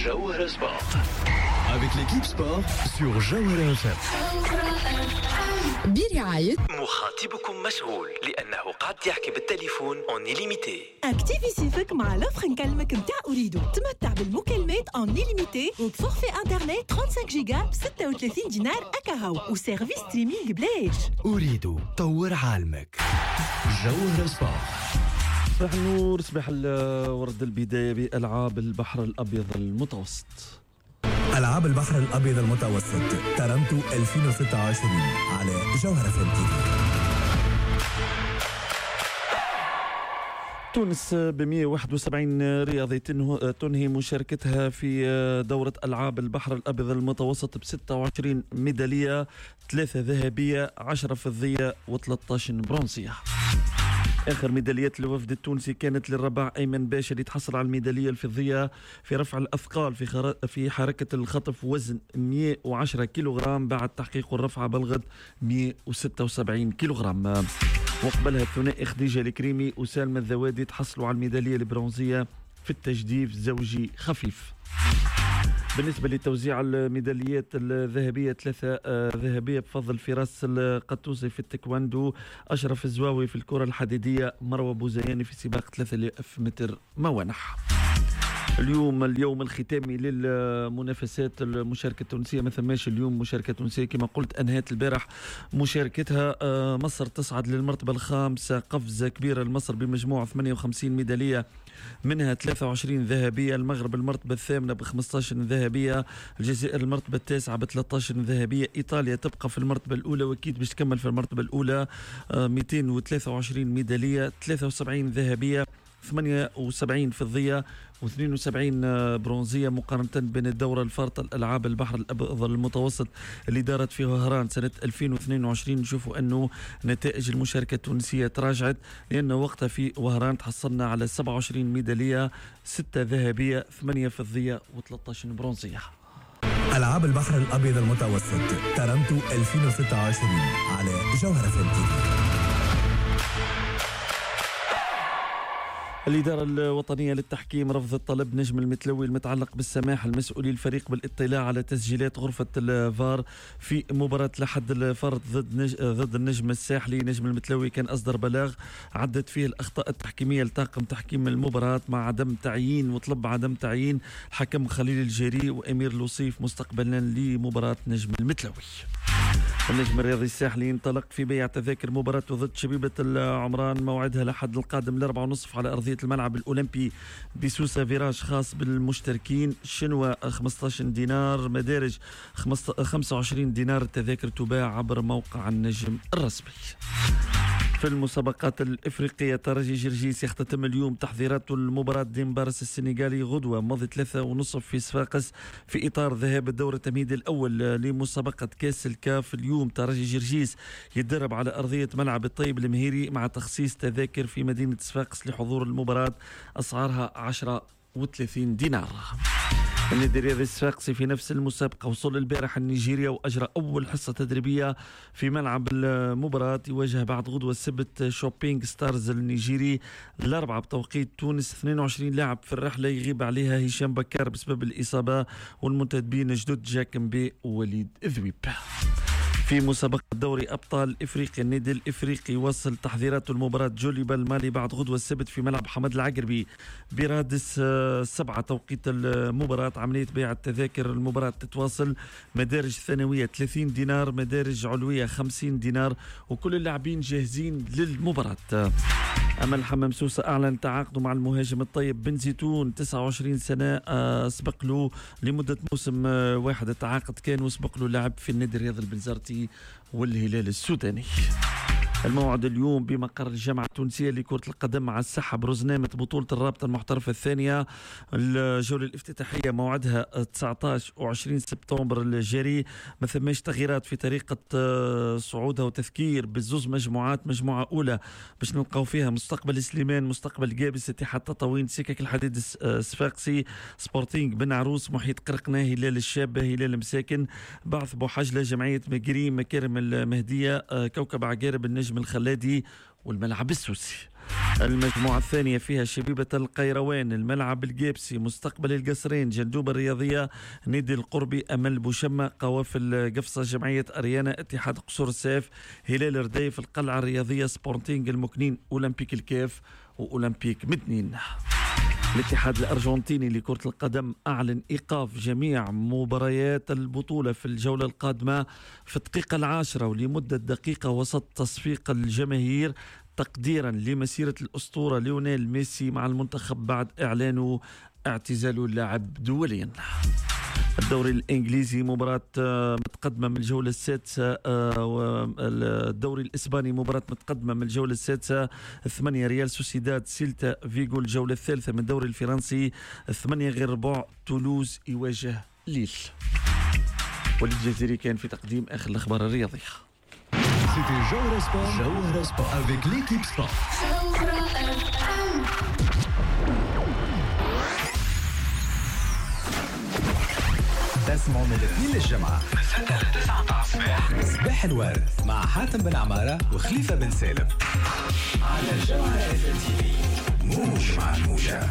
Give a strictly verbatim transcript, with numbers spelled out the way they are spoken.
جوهرة Sport avec l'équipe sport sur جوهرة إف إم. برعاية مخاطبكم مشغول لأنه قاعد يحكي بالتليفون en illimité. activi صيفك مع l'offre نكلمك نتاع أوريدو، تمتع بالمكالمات en illimité وب forfait internet خمسة وثلاثين جيجا ب ستة وثلاثين دينار أكاهو و service streaming بلاش. أوريدو طور عالمك. جوهرة Sport. صباح النور، صباح الورد. البداية بألعاب البحر الأبيض المتوسط. ألعاب البحر الأبيض المتوسط ترنتو ألفين وستة وعشرين على جوهرة إف إم. تونس ب مئة وواحد وسبعين رياضي تنهي مشاركتها في دورة ألعاب البحر الأبيض المتوسط ب ستة وعشرين ميدالية، ثلاثة ذهبية، عشرة فضية وثلاثة عشر برونزية. آخر ميداليات الوفد التونسي كانت للرباع أيمن باشا اللي تحصل على الميدالية الفضية في رفع الأثقال في خر... في حركة الخطف وزن مئة وعشرة كيلوغرام بعد تحقيق الرفعة بلغت مئة وستة وسبعين كيلوغرام. وقبلها الثنائي خديجة الكريمي وسالمة الذوادي تحصلوا على الميدالية البرونزية في التجديف زوجي خفيف. بالنسبة لتوزيع الميداليات الذهبية، ثلاثة ذهبية بفضل فراس القطوسي في التايكوندو، أشرف الزواوي في الكرة الحديدية، مروة بوزياني في سباق ثلاثة آلاف متر موانح. اليوم اليوم الختامي للمنافسات المشاركة التونسية، ما ثماش اليوم مشاركة تونسية كما قلت، أنهت البارح مشاركتها. مصر تصعد للمرتبة الخامسة، قفزة كبيرة لمصر بمجموع ثمانية وخمسين ميدالية منها ثلاثة وعشرين ذهبية. المغرب المرتبة الثامنة ب خمسة عشر ذهبية، الجزائر المرتبة التاسعة ب ثلاثة عشر ذهبية، إيطاليا تبقى في المرتبة الأولى وأكيد باش تكمل في المرتبة الأولى مئتين وثلاثة وعشرين ميدالية، ثلاثة وسبعين ذهبية، ثمانية وسبعين فضية واثنين وسبعين برونزية، مقارنة بين الدورة الفارطة الألعاب البحر الأبيض المتوسط اللي دارت فيه وهران سنة ألفين واثنين وعشرين. نشوفوا أنه نتائج المشاركة التونسية تراجعت، لأن وقتها في وهران تحصلنا على سبعة وعشرين ميدالية، ستة ذهبية، ثمانية فضية وثلاثة عشر برونزية. ألعاب البحر الأبيض المتوسط ترنتو ألفين وستة وعشرين على جوهرة إف إم. الإدارة الوطنية للتحكيم رفضت طلب نجم المتلوي المتعلق بالسماح المسؤولي الفريق بالاطلاع على تسجيلات غرفة الفار في مباراة لحد الفرد ضد نج... ضد النجم الساحلي. نجم المتلوي كان أصدر بلاغ عدت فيه الأخطاء التحكيمية لطاقم تحكيم المباراة مع عدم تعيين، وطلب عدم تعيين الحكم خليل الجري وأمير لوصيف مستقبلا لمباراة نجم المتلوي. النجم الرياضي الساحلي انطلق في بيع تذاكر مباراته ضد شبيبة العمران، موعدها لحد القادم الأربعة ونصف على أرضية الملعب الأولمبي بسوسة، فيراج خاص بالمشتركين، شنوة خمسة عشر دينار، مدارج خمسة وعشرين دينار. التذاكر تباع عبر موقع النجم الرسمي. في المسابقات الإفريقية، ترجي جرجيس يختتم اليوم تحضيرات المباراة ديمبارس السنغالي غدوة ماضي ثلاثة ونصف في صفاقس في إطار ذهاب الدور التمهيدي الأول لمسابقة كاس الكاف. اليوم ترجي جرجيس يتدرب على أرضية ملعب الطيب المهيري مع تخصيص تذاكر في مدينة صفاقس لحضور المباراة، أسعارها عشرة وثلاثين دينار. النادي الرياضي الصفاقسي في نفس المسابقة وصل البارح النيجيريا وأجرى أول حصة تدريبية في ملعب المباراة، يواجه بعد غدوة السبت شوبينغ ستارز النيجيري الأربعة بتوقيت تونس. اثنين وعشرين لاعب في الرحلة يغيب عليها هشام بكار بسبب الإصابة، والمنتدبين جدد جاكمبي ووليد ذويب. في مسابقة دوري أبطال إفريقيا، النادي الإفريقي وصل تحضيراته المباراة جوليبا المالي بعد غدوة السبت في ملعب حمد العقربي برادس سبعة توقيت المباراة. عملية بيع التذاكر المباراة تتواصل، مدارج ثانوية ثلاثين دينار، مدارج علوية خمسين دينار، وكل اللاعبين جاهزين للمباراة. أما الحمام سوسة أعلن تعاقده مع المهاجم الطيب بن زيتون تسعة وعشرين سنة، سبق له لمدة موسم واحد التعاقد كان، وسبق له لعب في النادي الرياضي البنزرتي والهلال السوداني. الموعد اليوم بمقر الجامعة التونسية لكرة القدم مع السحب رزنامة بطولة الرابطة المحترفة الثانية، الجولة الافتتاحية موعدها تسعة عشر وعشرين سبتمبر الجاري. ما ثماش تغييرات في طريقة صعودها، وتذكير بالزوز مجموعات، مجموعة أولى باش نلقاو فيها مستقبل سليمان، مستقبل قابس، اتحاد تطاوين، سكك الحديد الصفاقسي، سبورتينغ بن عروس، محيط قرقنة، هلال الشابة، هلال مساكن، بعث بوحجلة، جمعية مقري، مكارم المهدية، كوكب عقارب، النجم الخلادي، والملعب السوسي. المجموعة الثانية فيها شبيبة القيروان، الملعب الجابسي، مستقبل القصرين، جندوب الرياضية، نادي القربي، أمل بوشمة، قوافل قفصة، جمعية أريانا، اتحاد قصور الساف، هلال رديف، القلعة الرياضية، سبورتينغ المكنين، أولمبيك الكاف وأولمبيك مدنين. الاتحاد الأرجنتيني لكرة القدم أعلن إيقاف جميع مباريات البطولة في الجولة القادمة في الدقيقة العاشرة ولمدة دقيقة وسط تصفيق الجماهير تقديرا لمسيرة الأسطورة ليونيل ميسي مع المنتخب بعد إعلانه اعتزاله اللاعب دوليا. الدوري الإنجليزي مباراة متقدمة من الجولة السادسة، الدوري الإسباني مباراة متقدمة من الجولة السادسة، ثمانية ريال سوسيداد سيلتا فيغو. الجولة الثالثة من الدوري الفرنسي ثمانية غير ربع تولوز يواجه ليل. وليد الجزيري كان في تقديم آخر الأخبار الرياضية. C'était Jawhara Sport, Jawhara Sport avec l'équipe sport. تسمعوا من الاثنين للجمعة من ستة ل تسعة متاع الصباح، صباح الورد مع حاتم بن عمارة وخليفة بن سالم على جوهرة اف ام تي في، موج مع الموجة.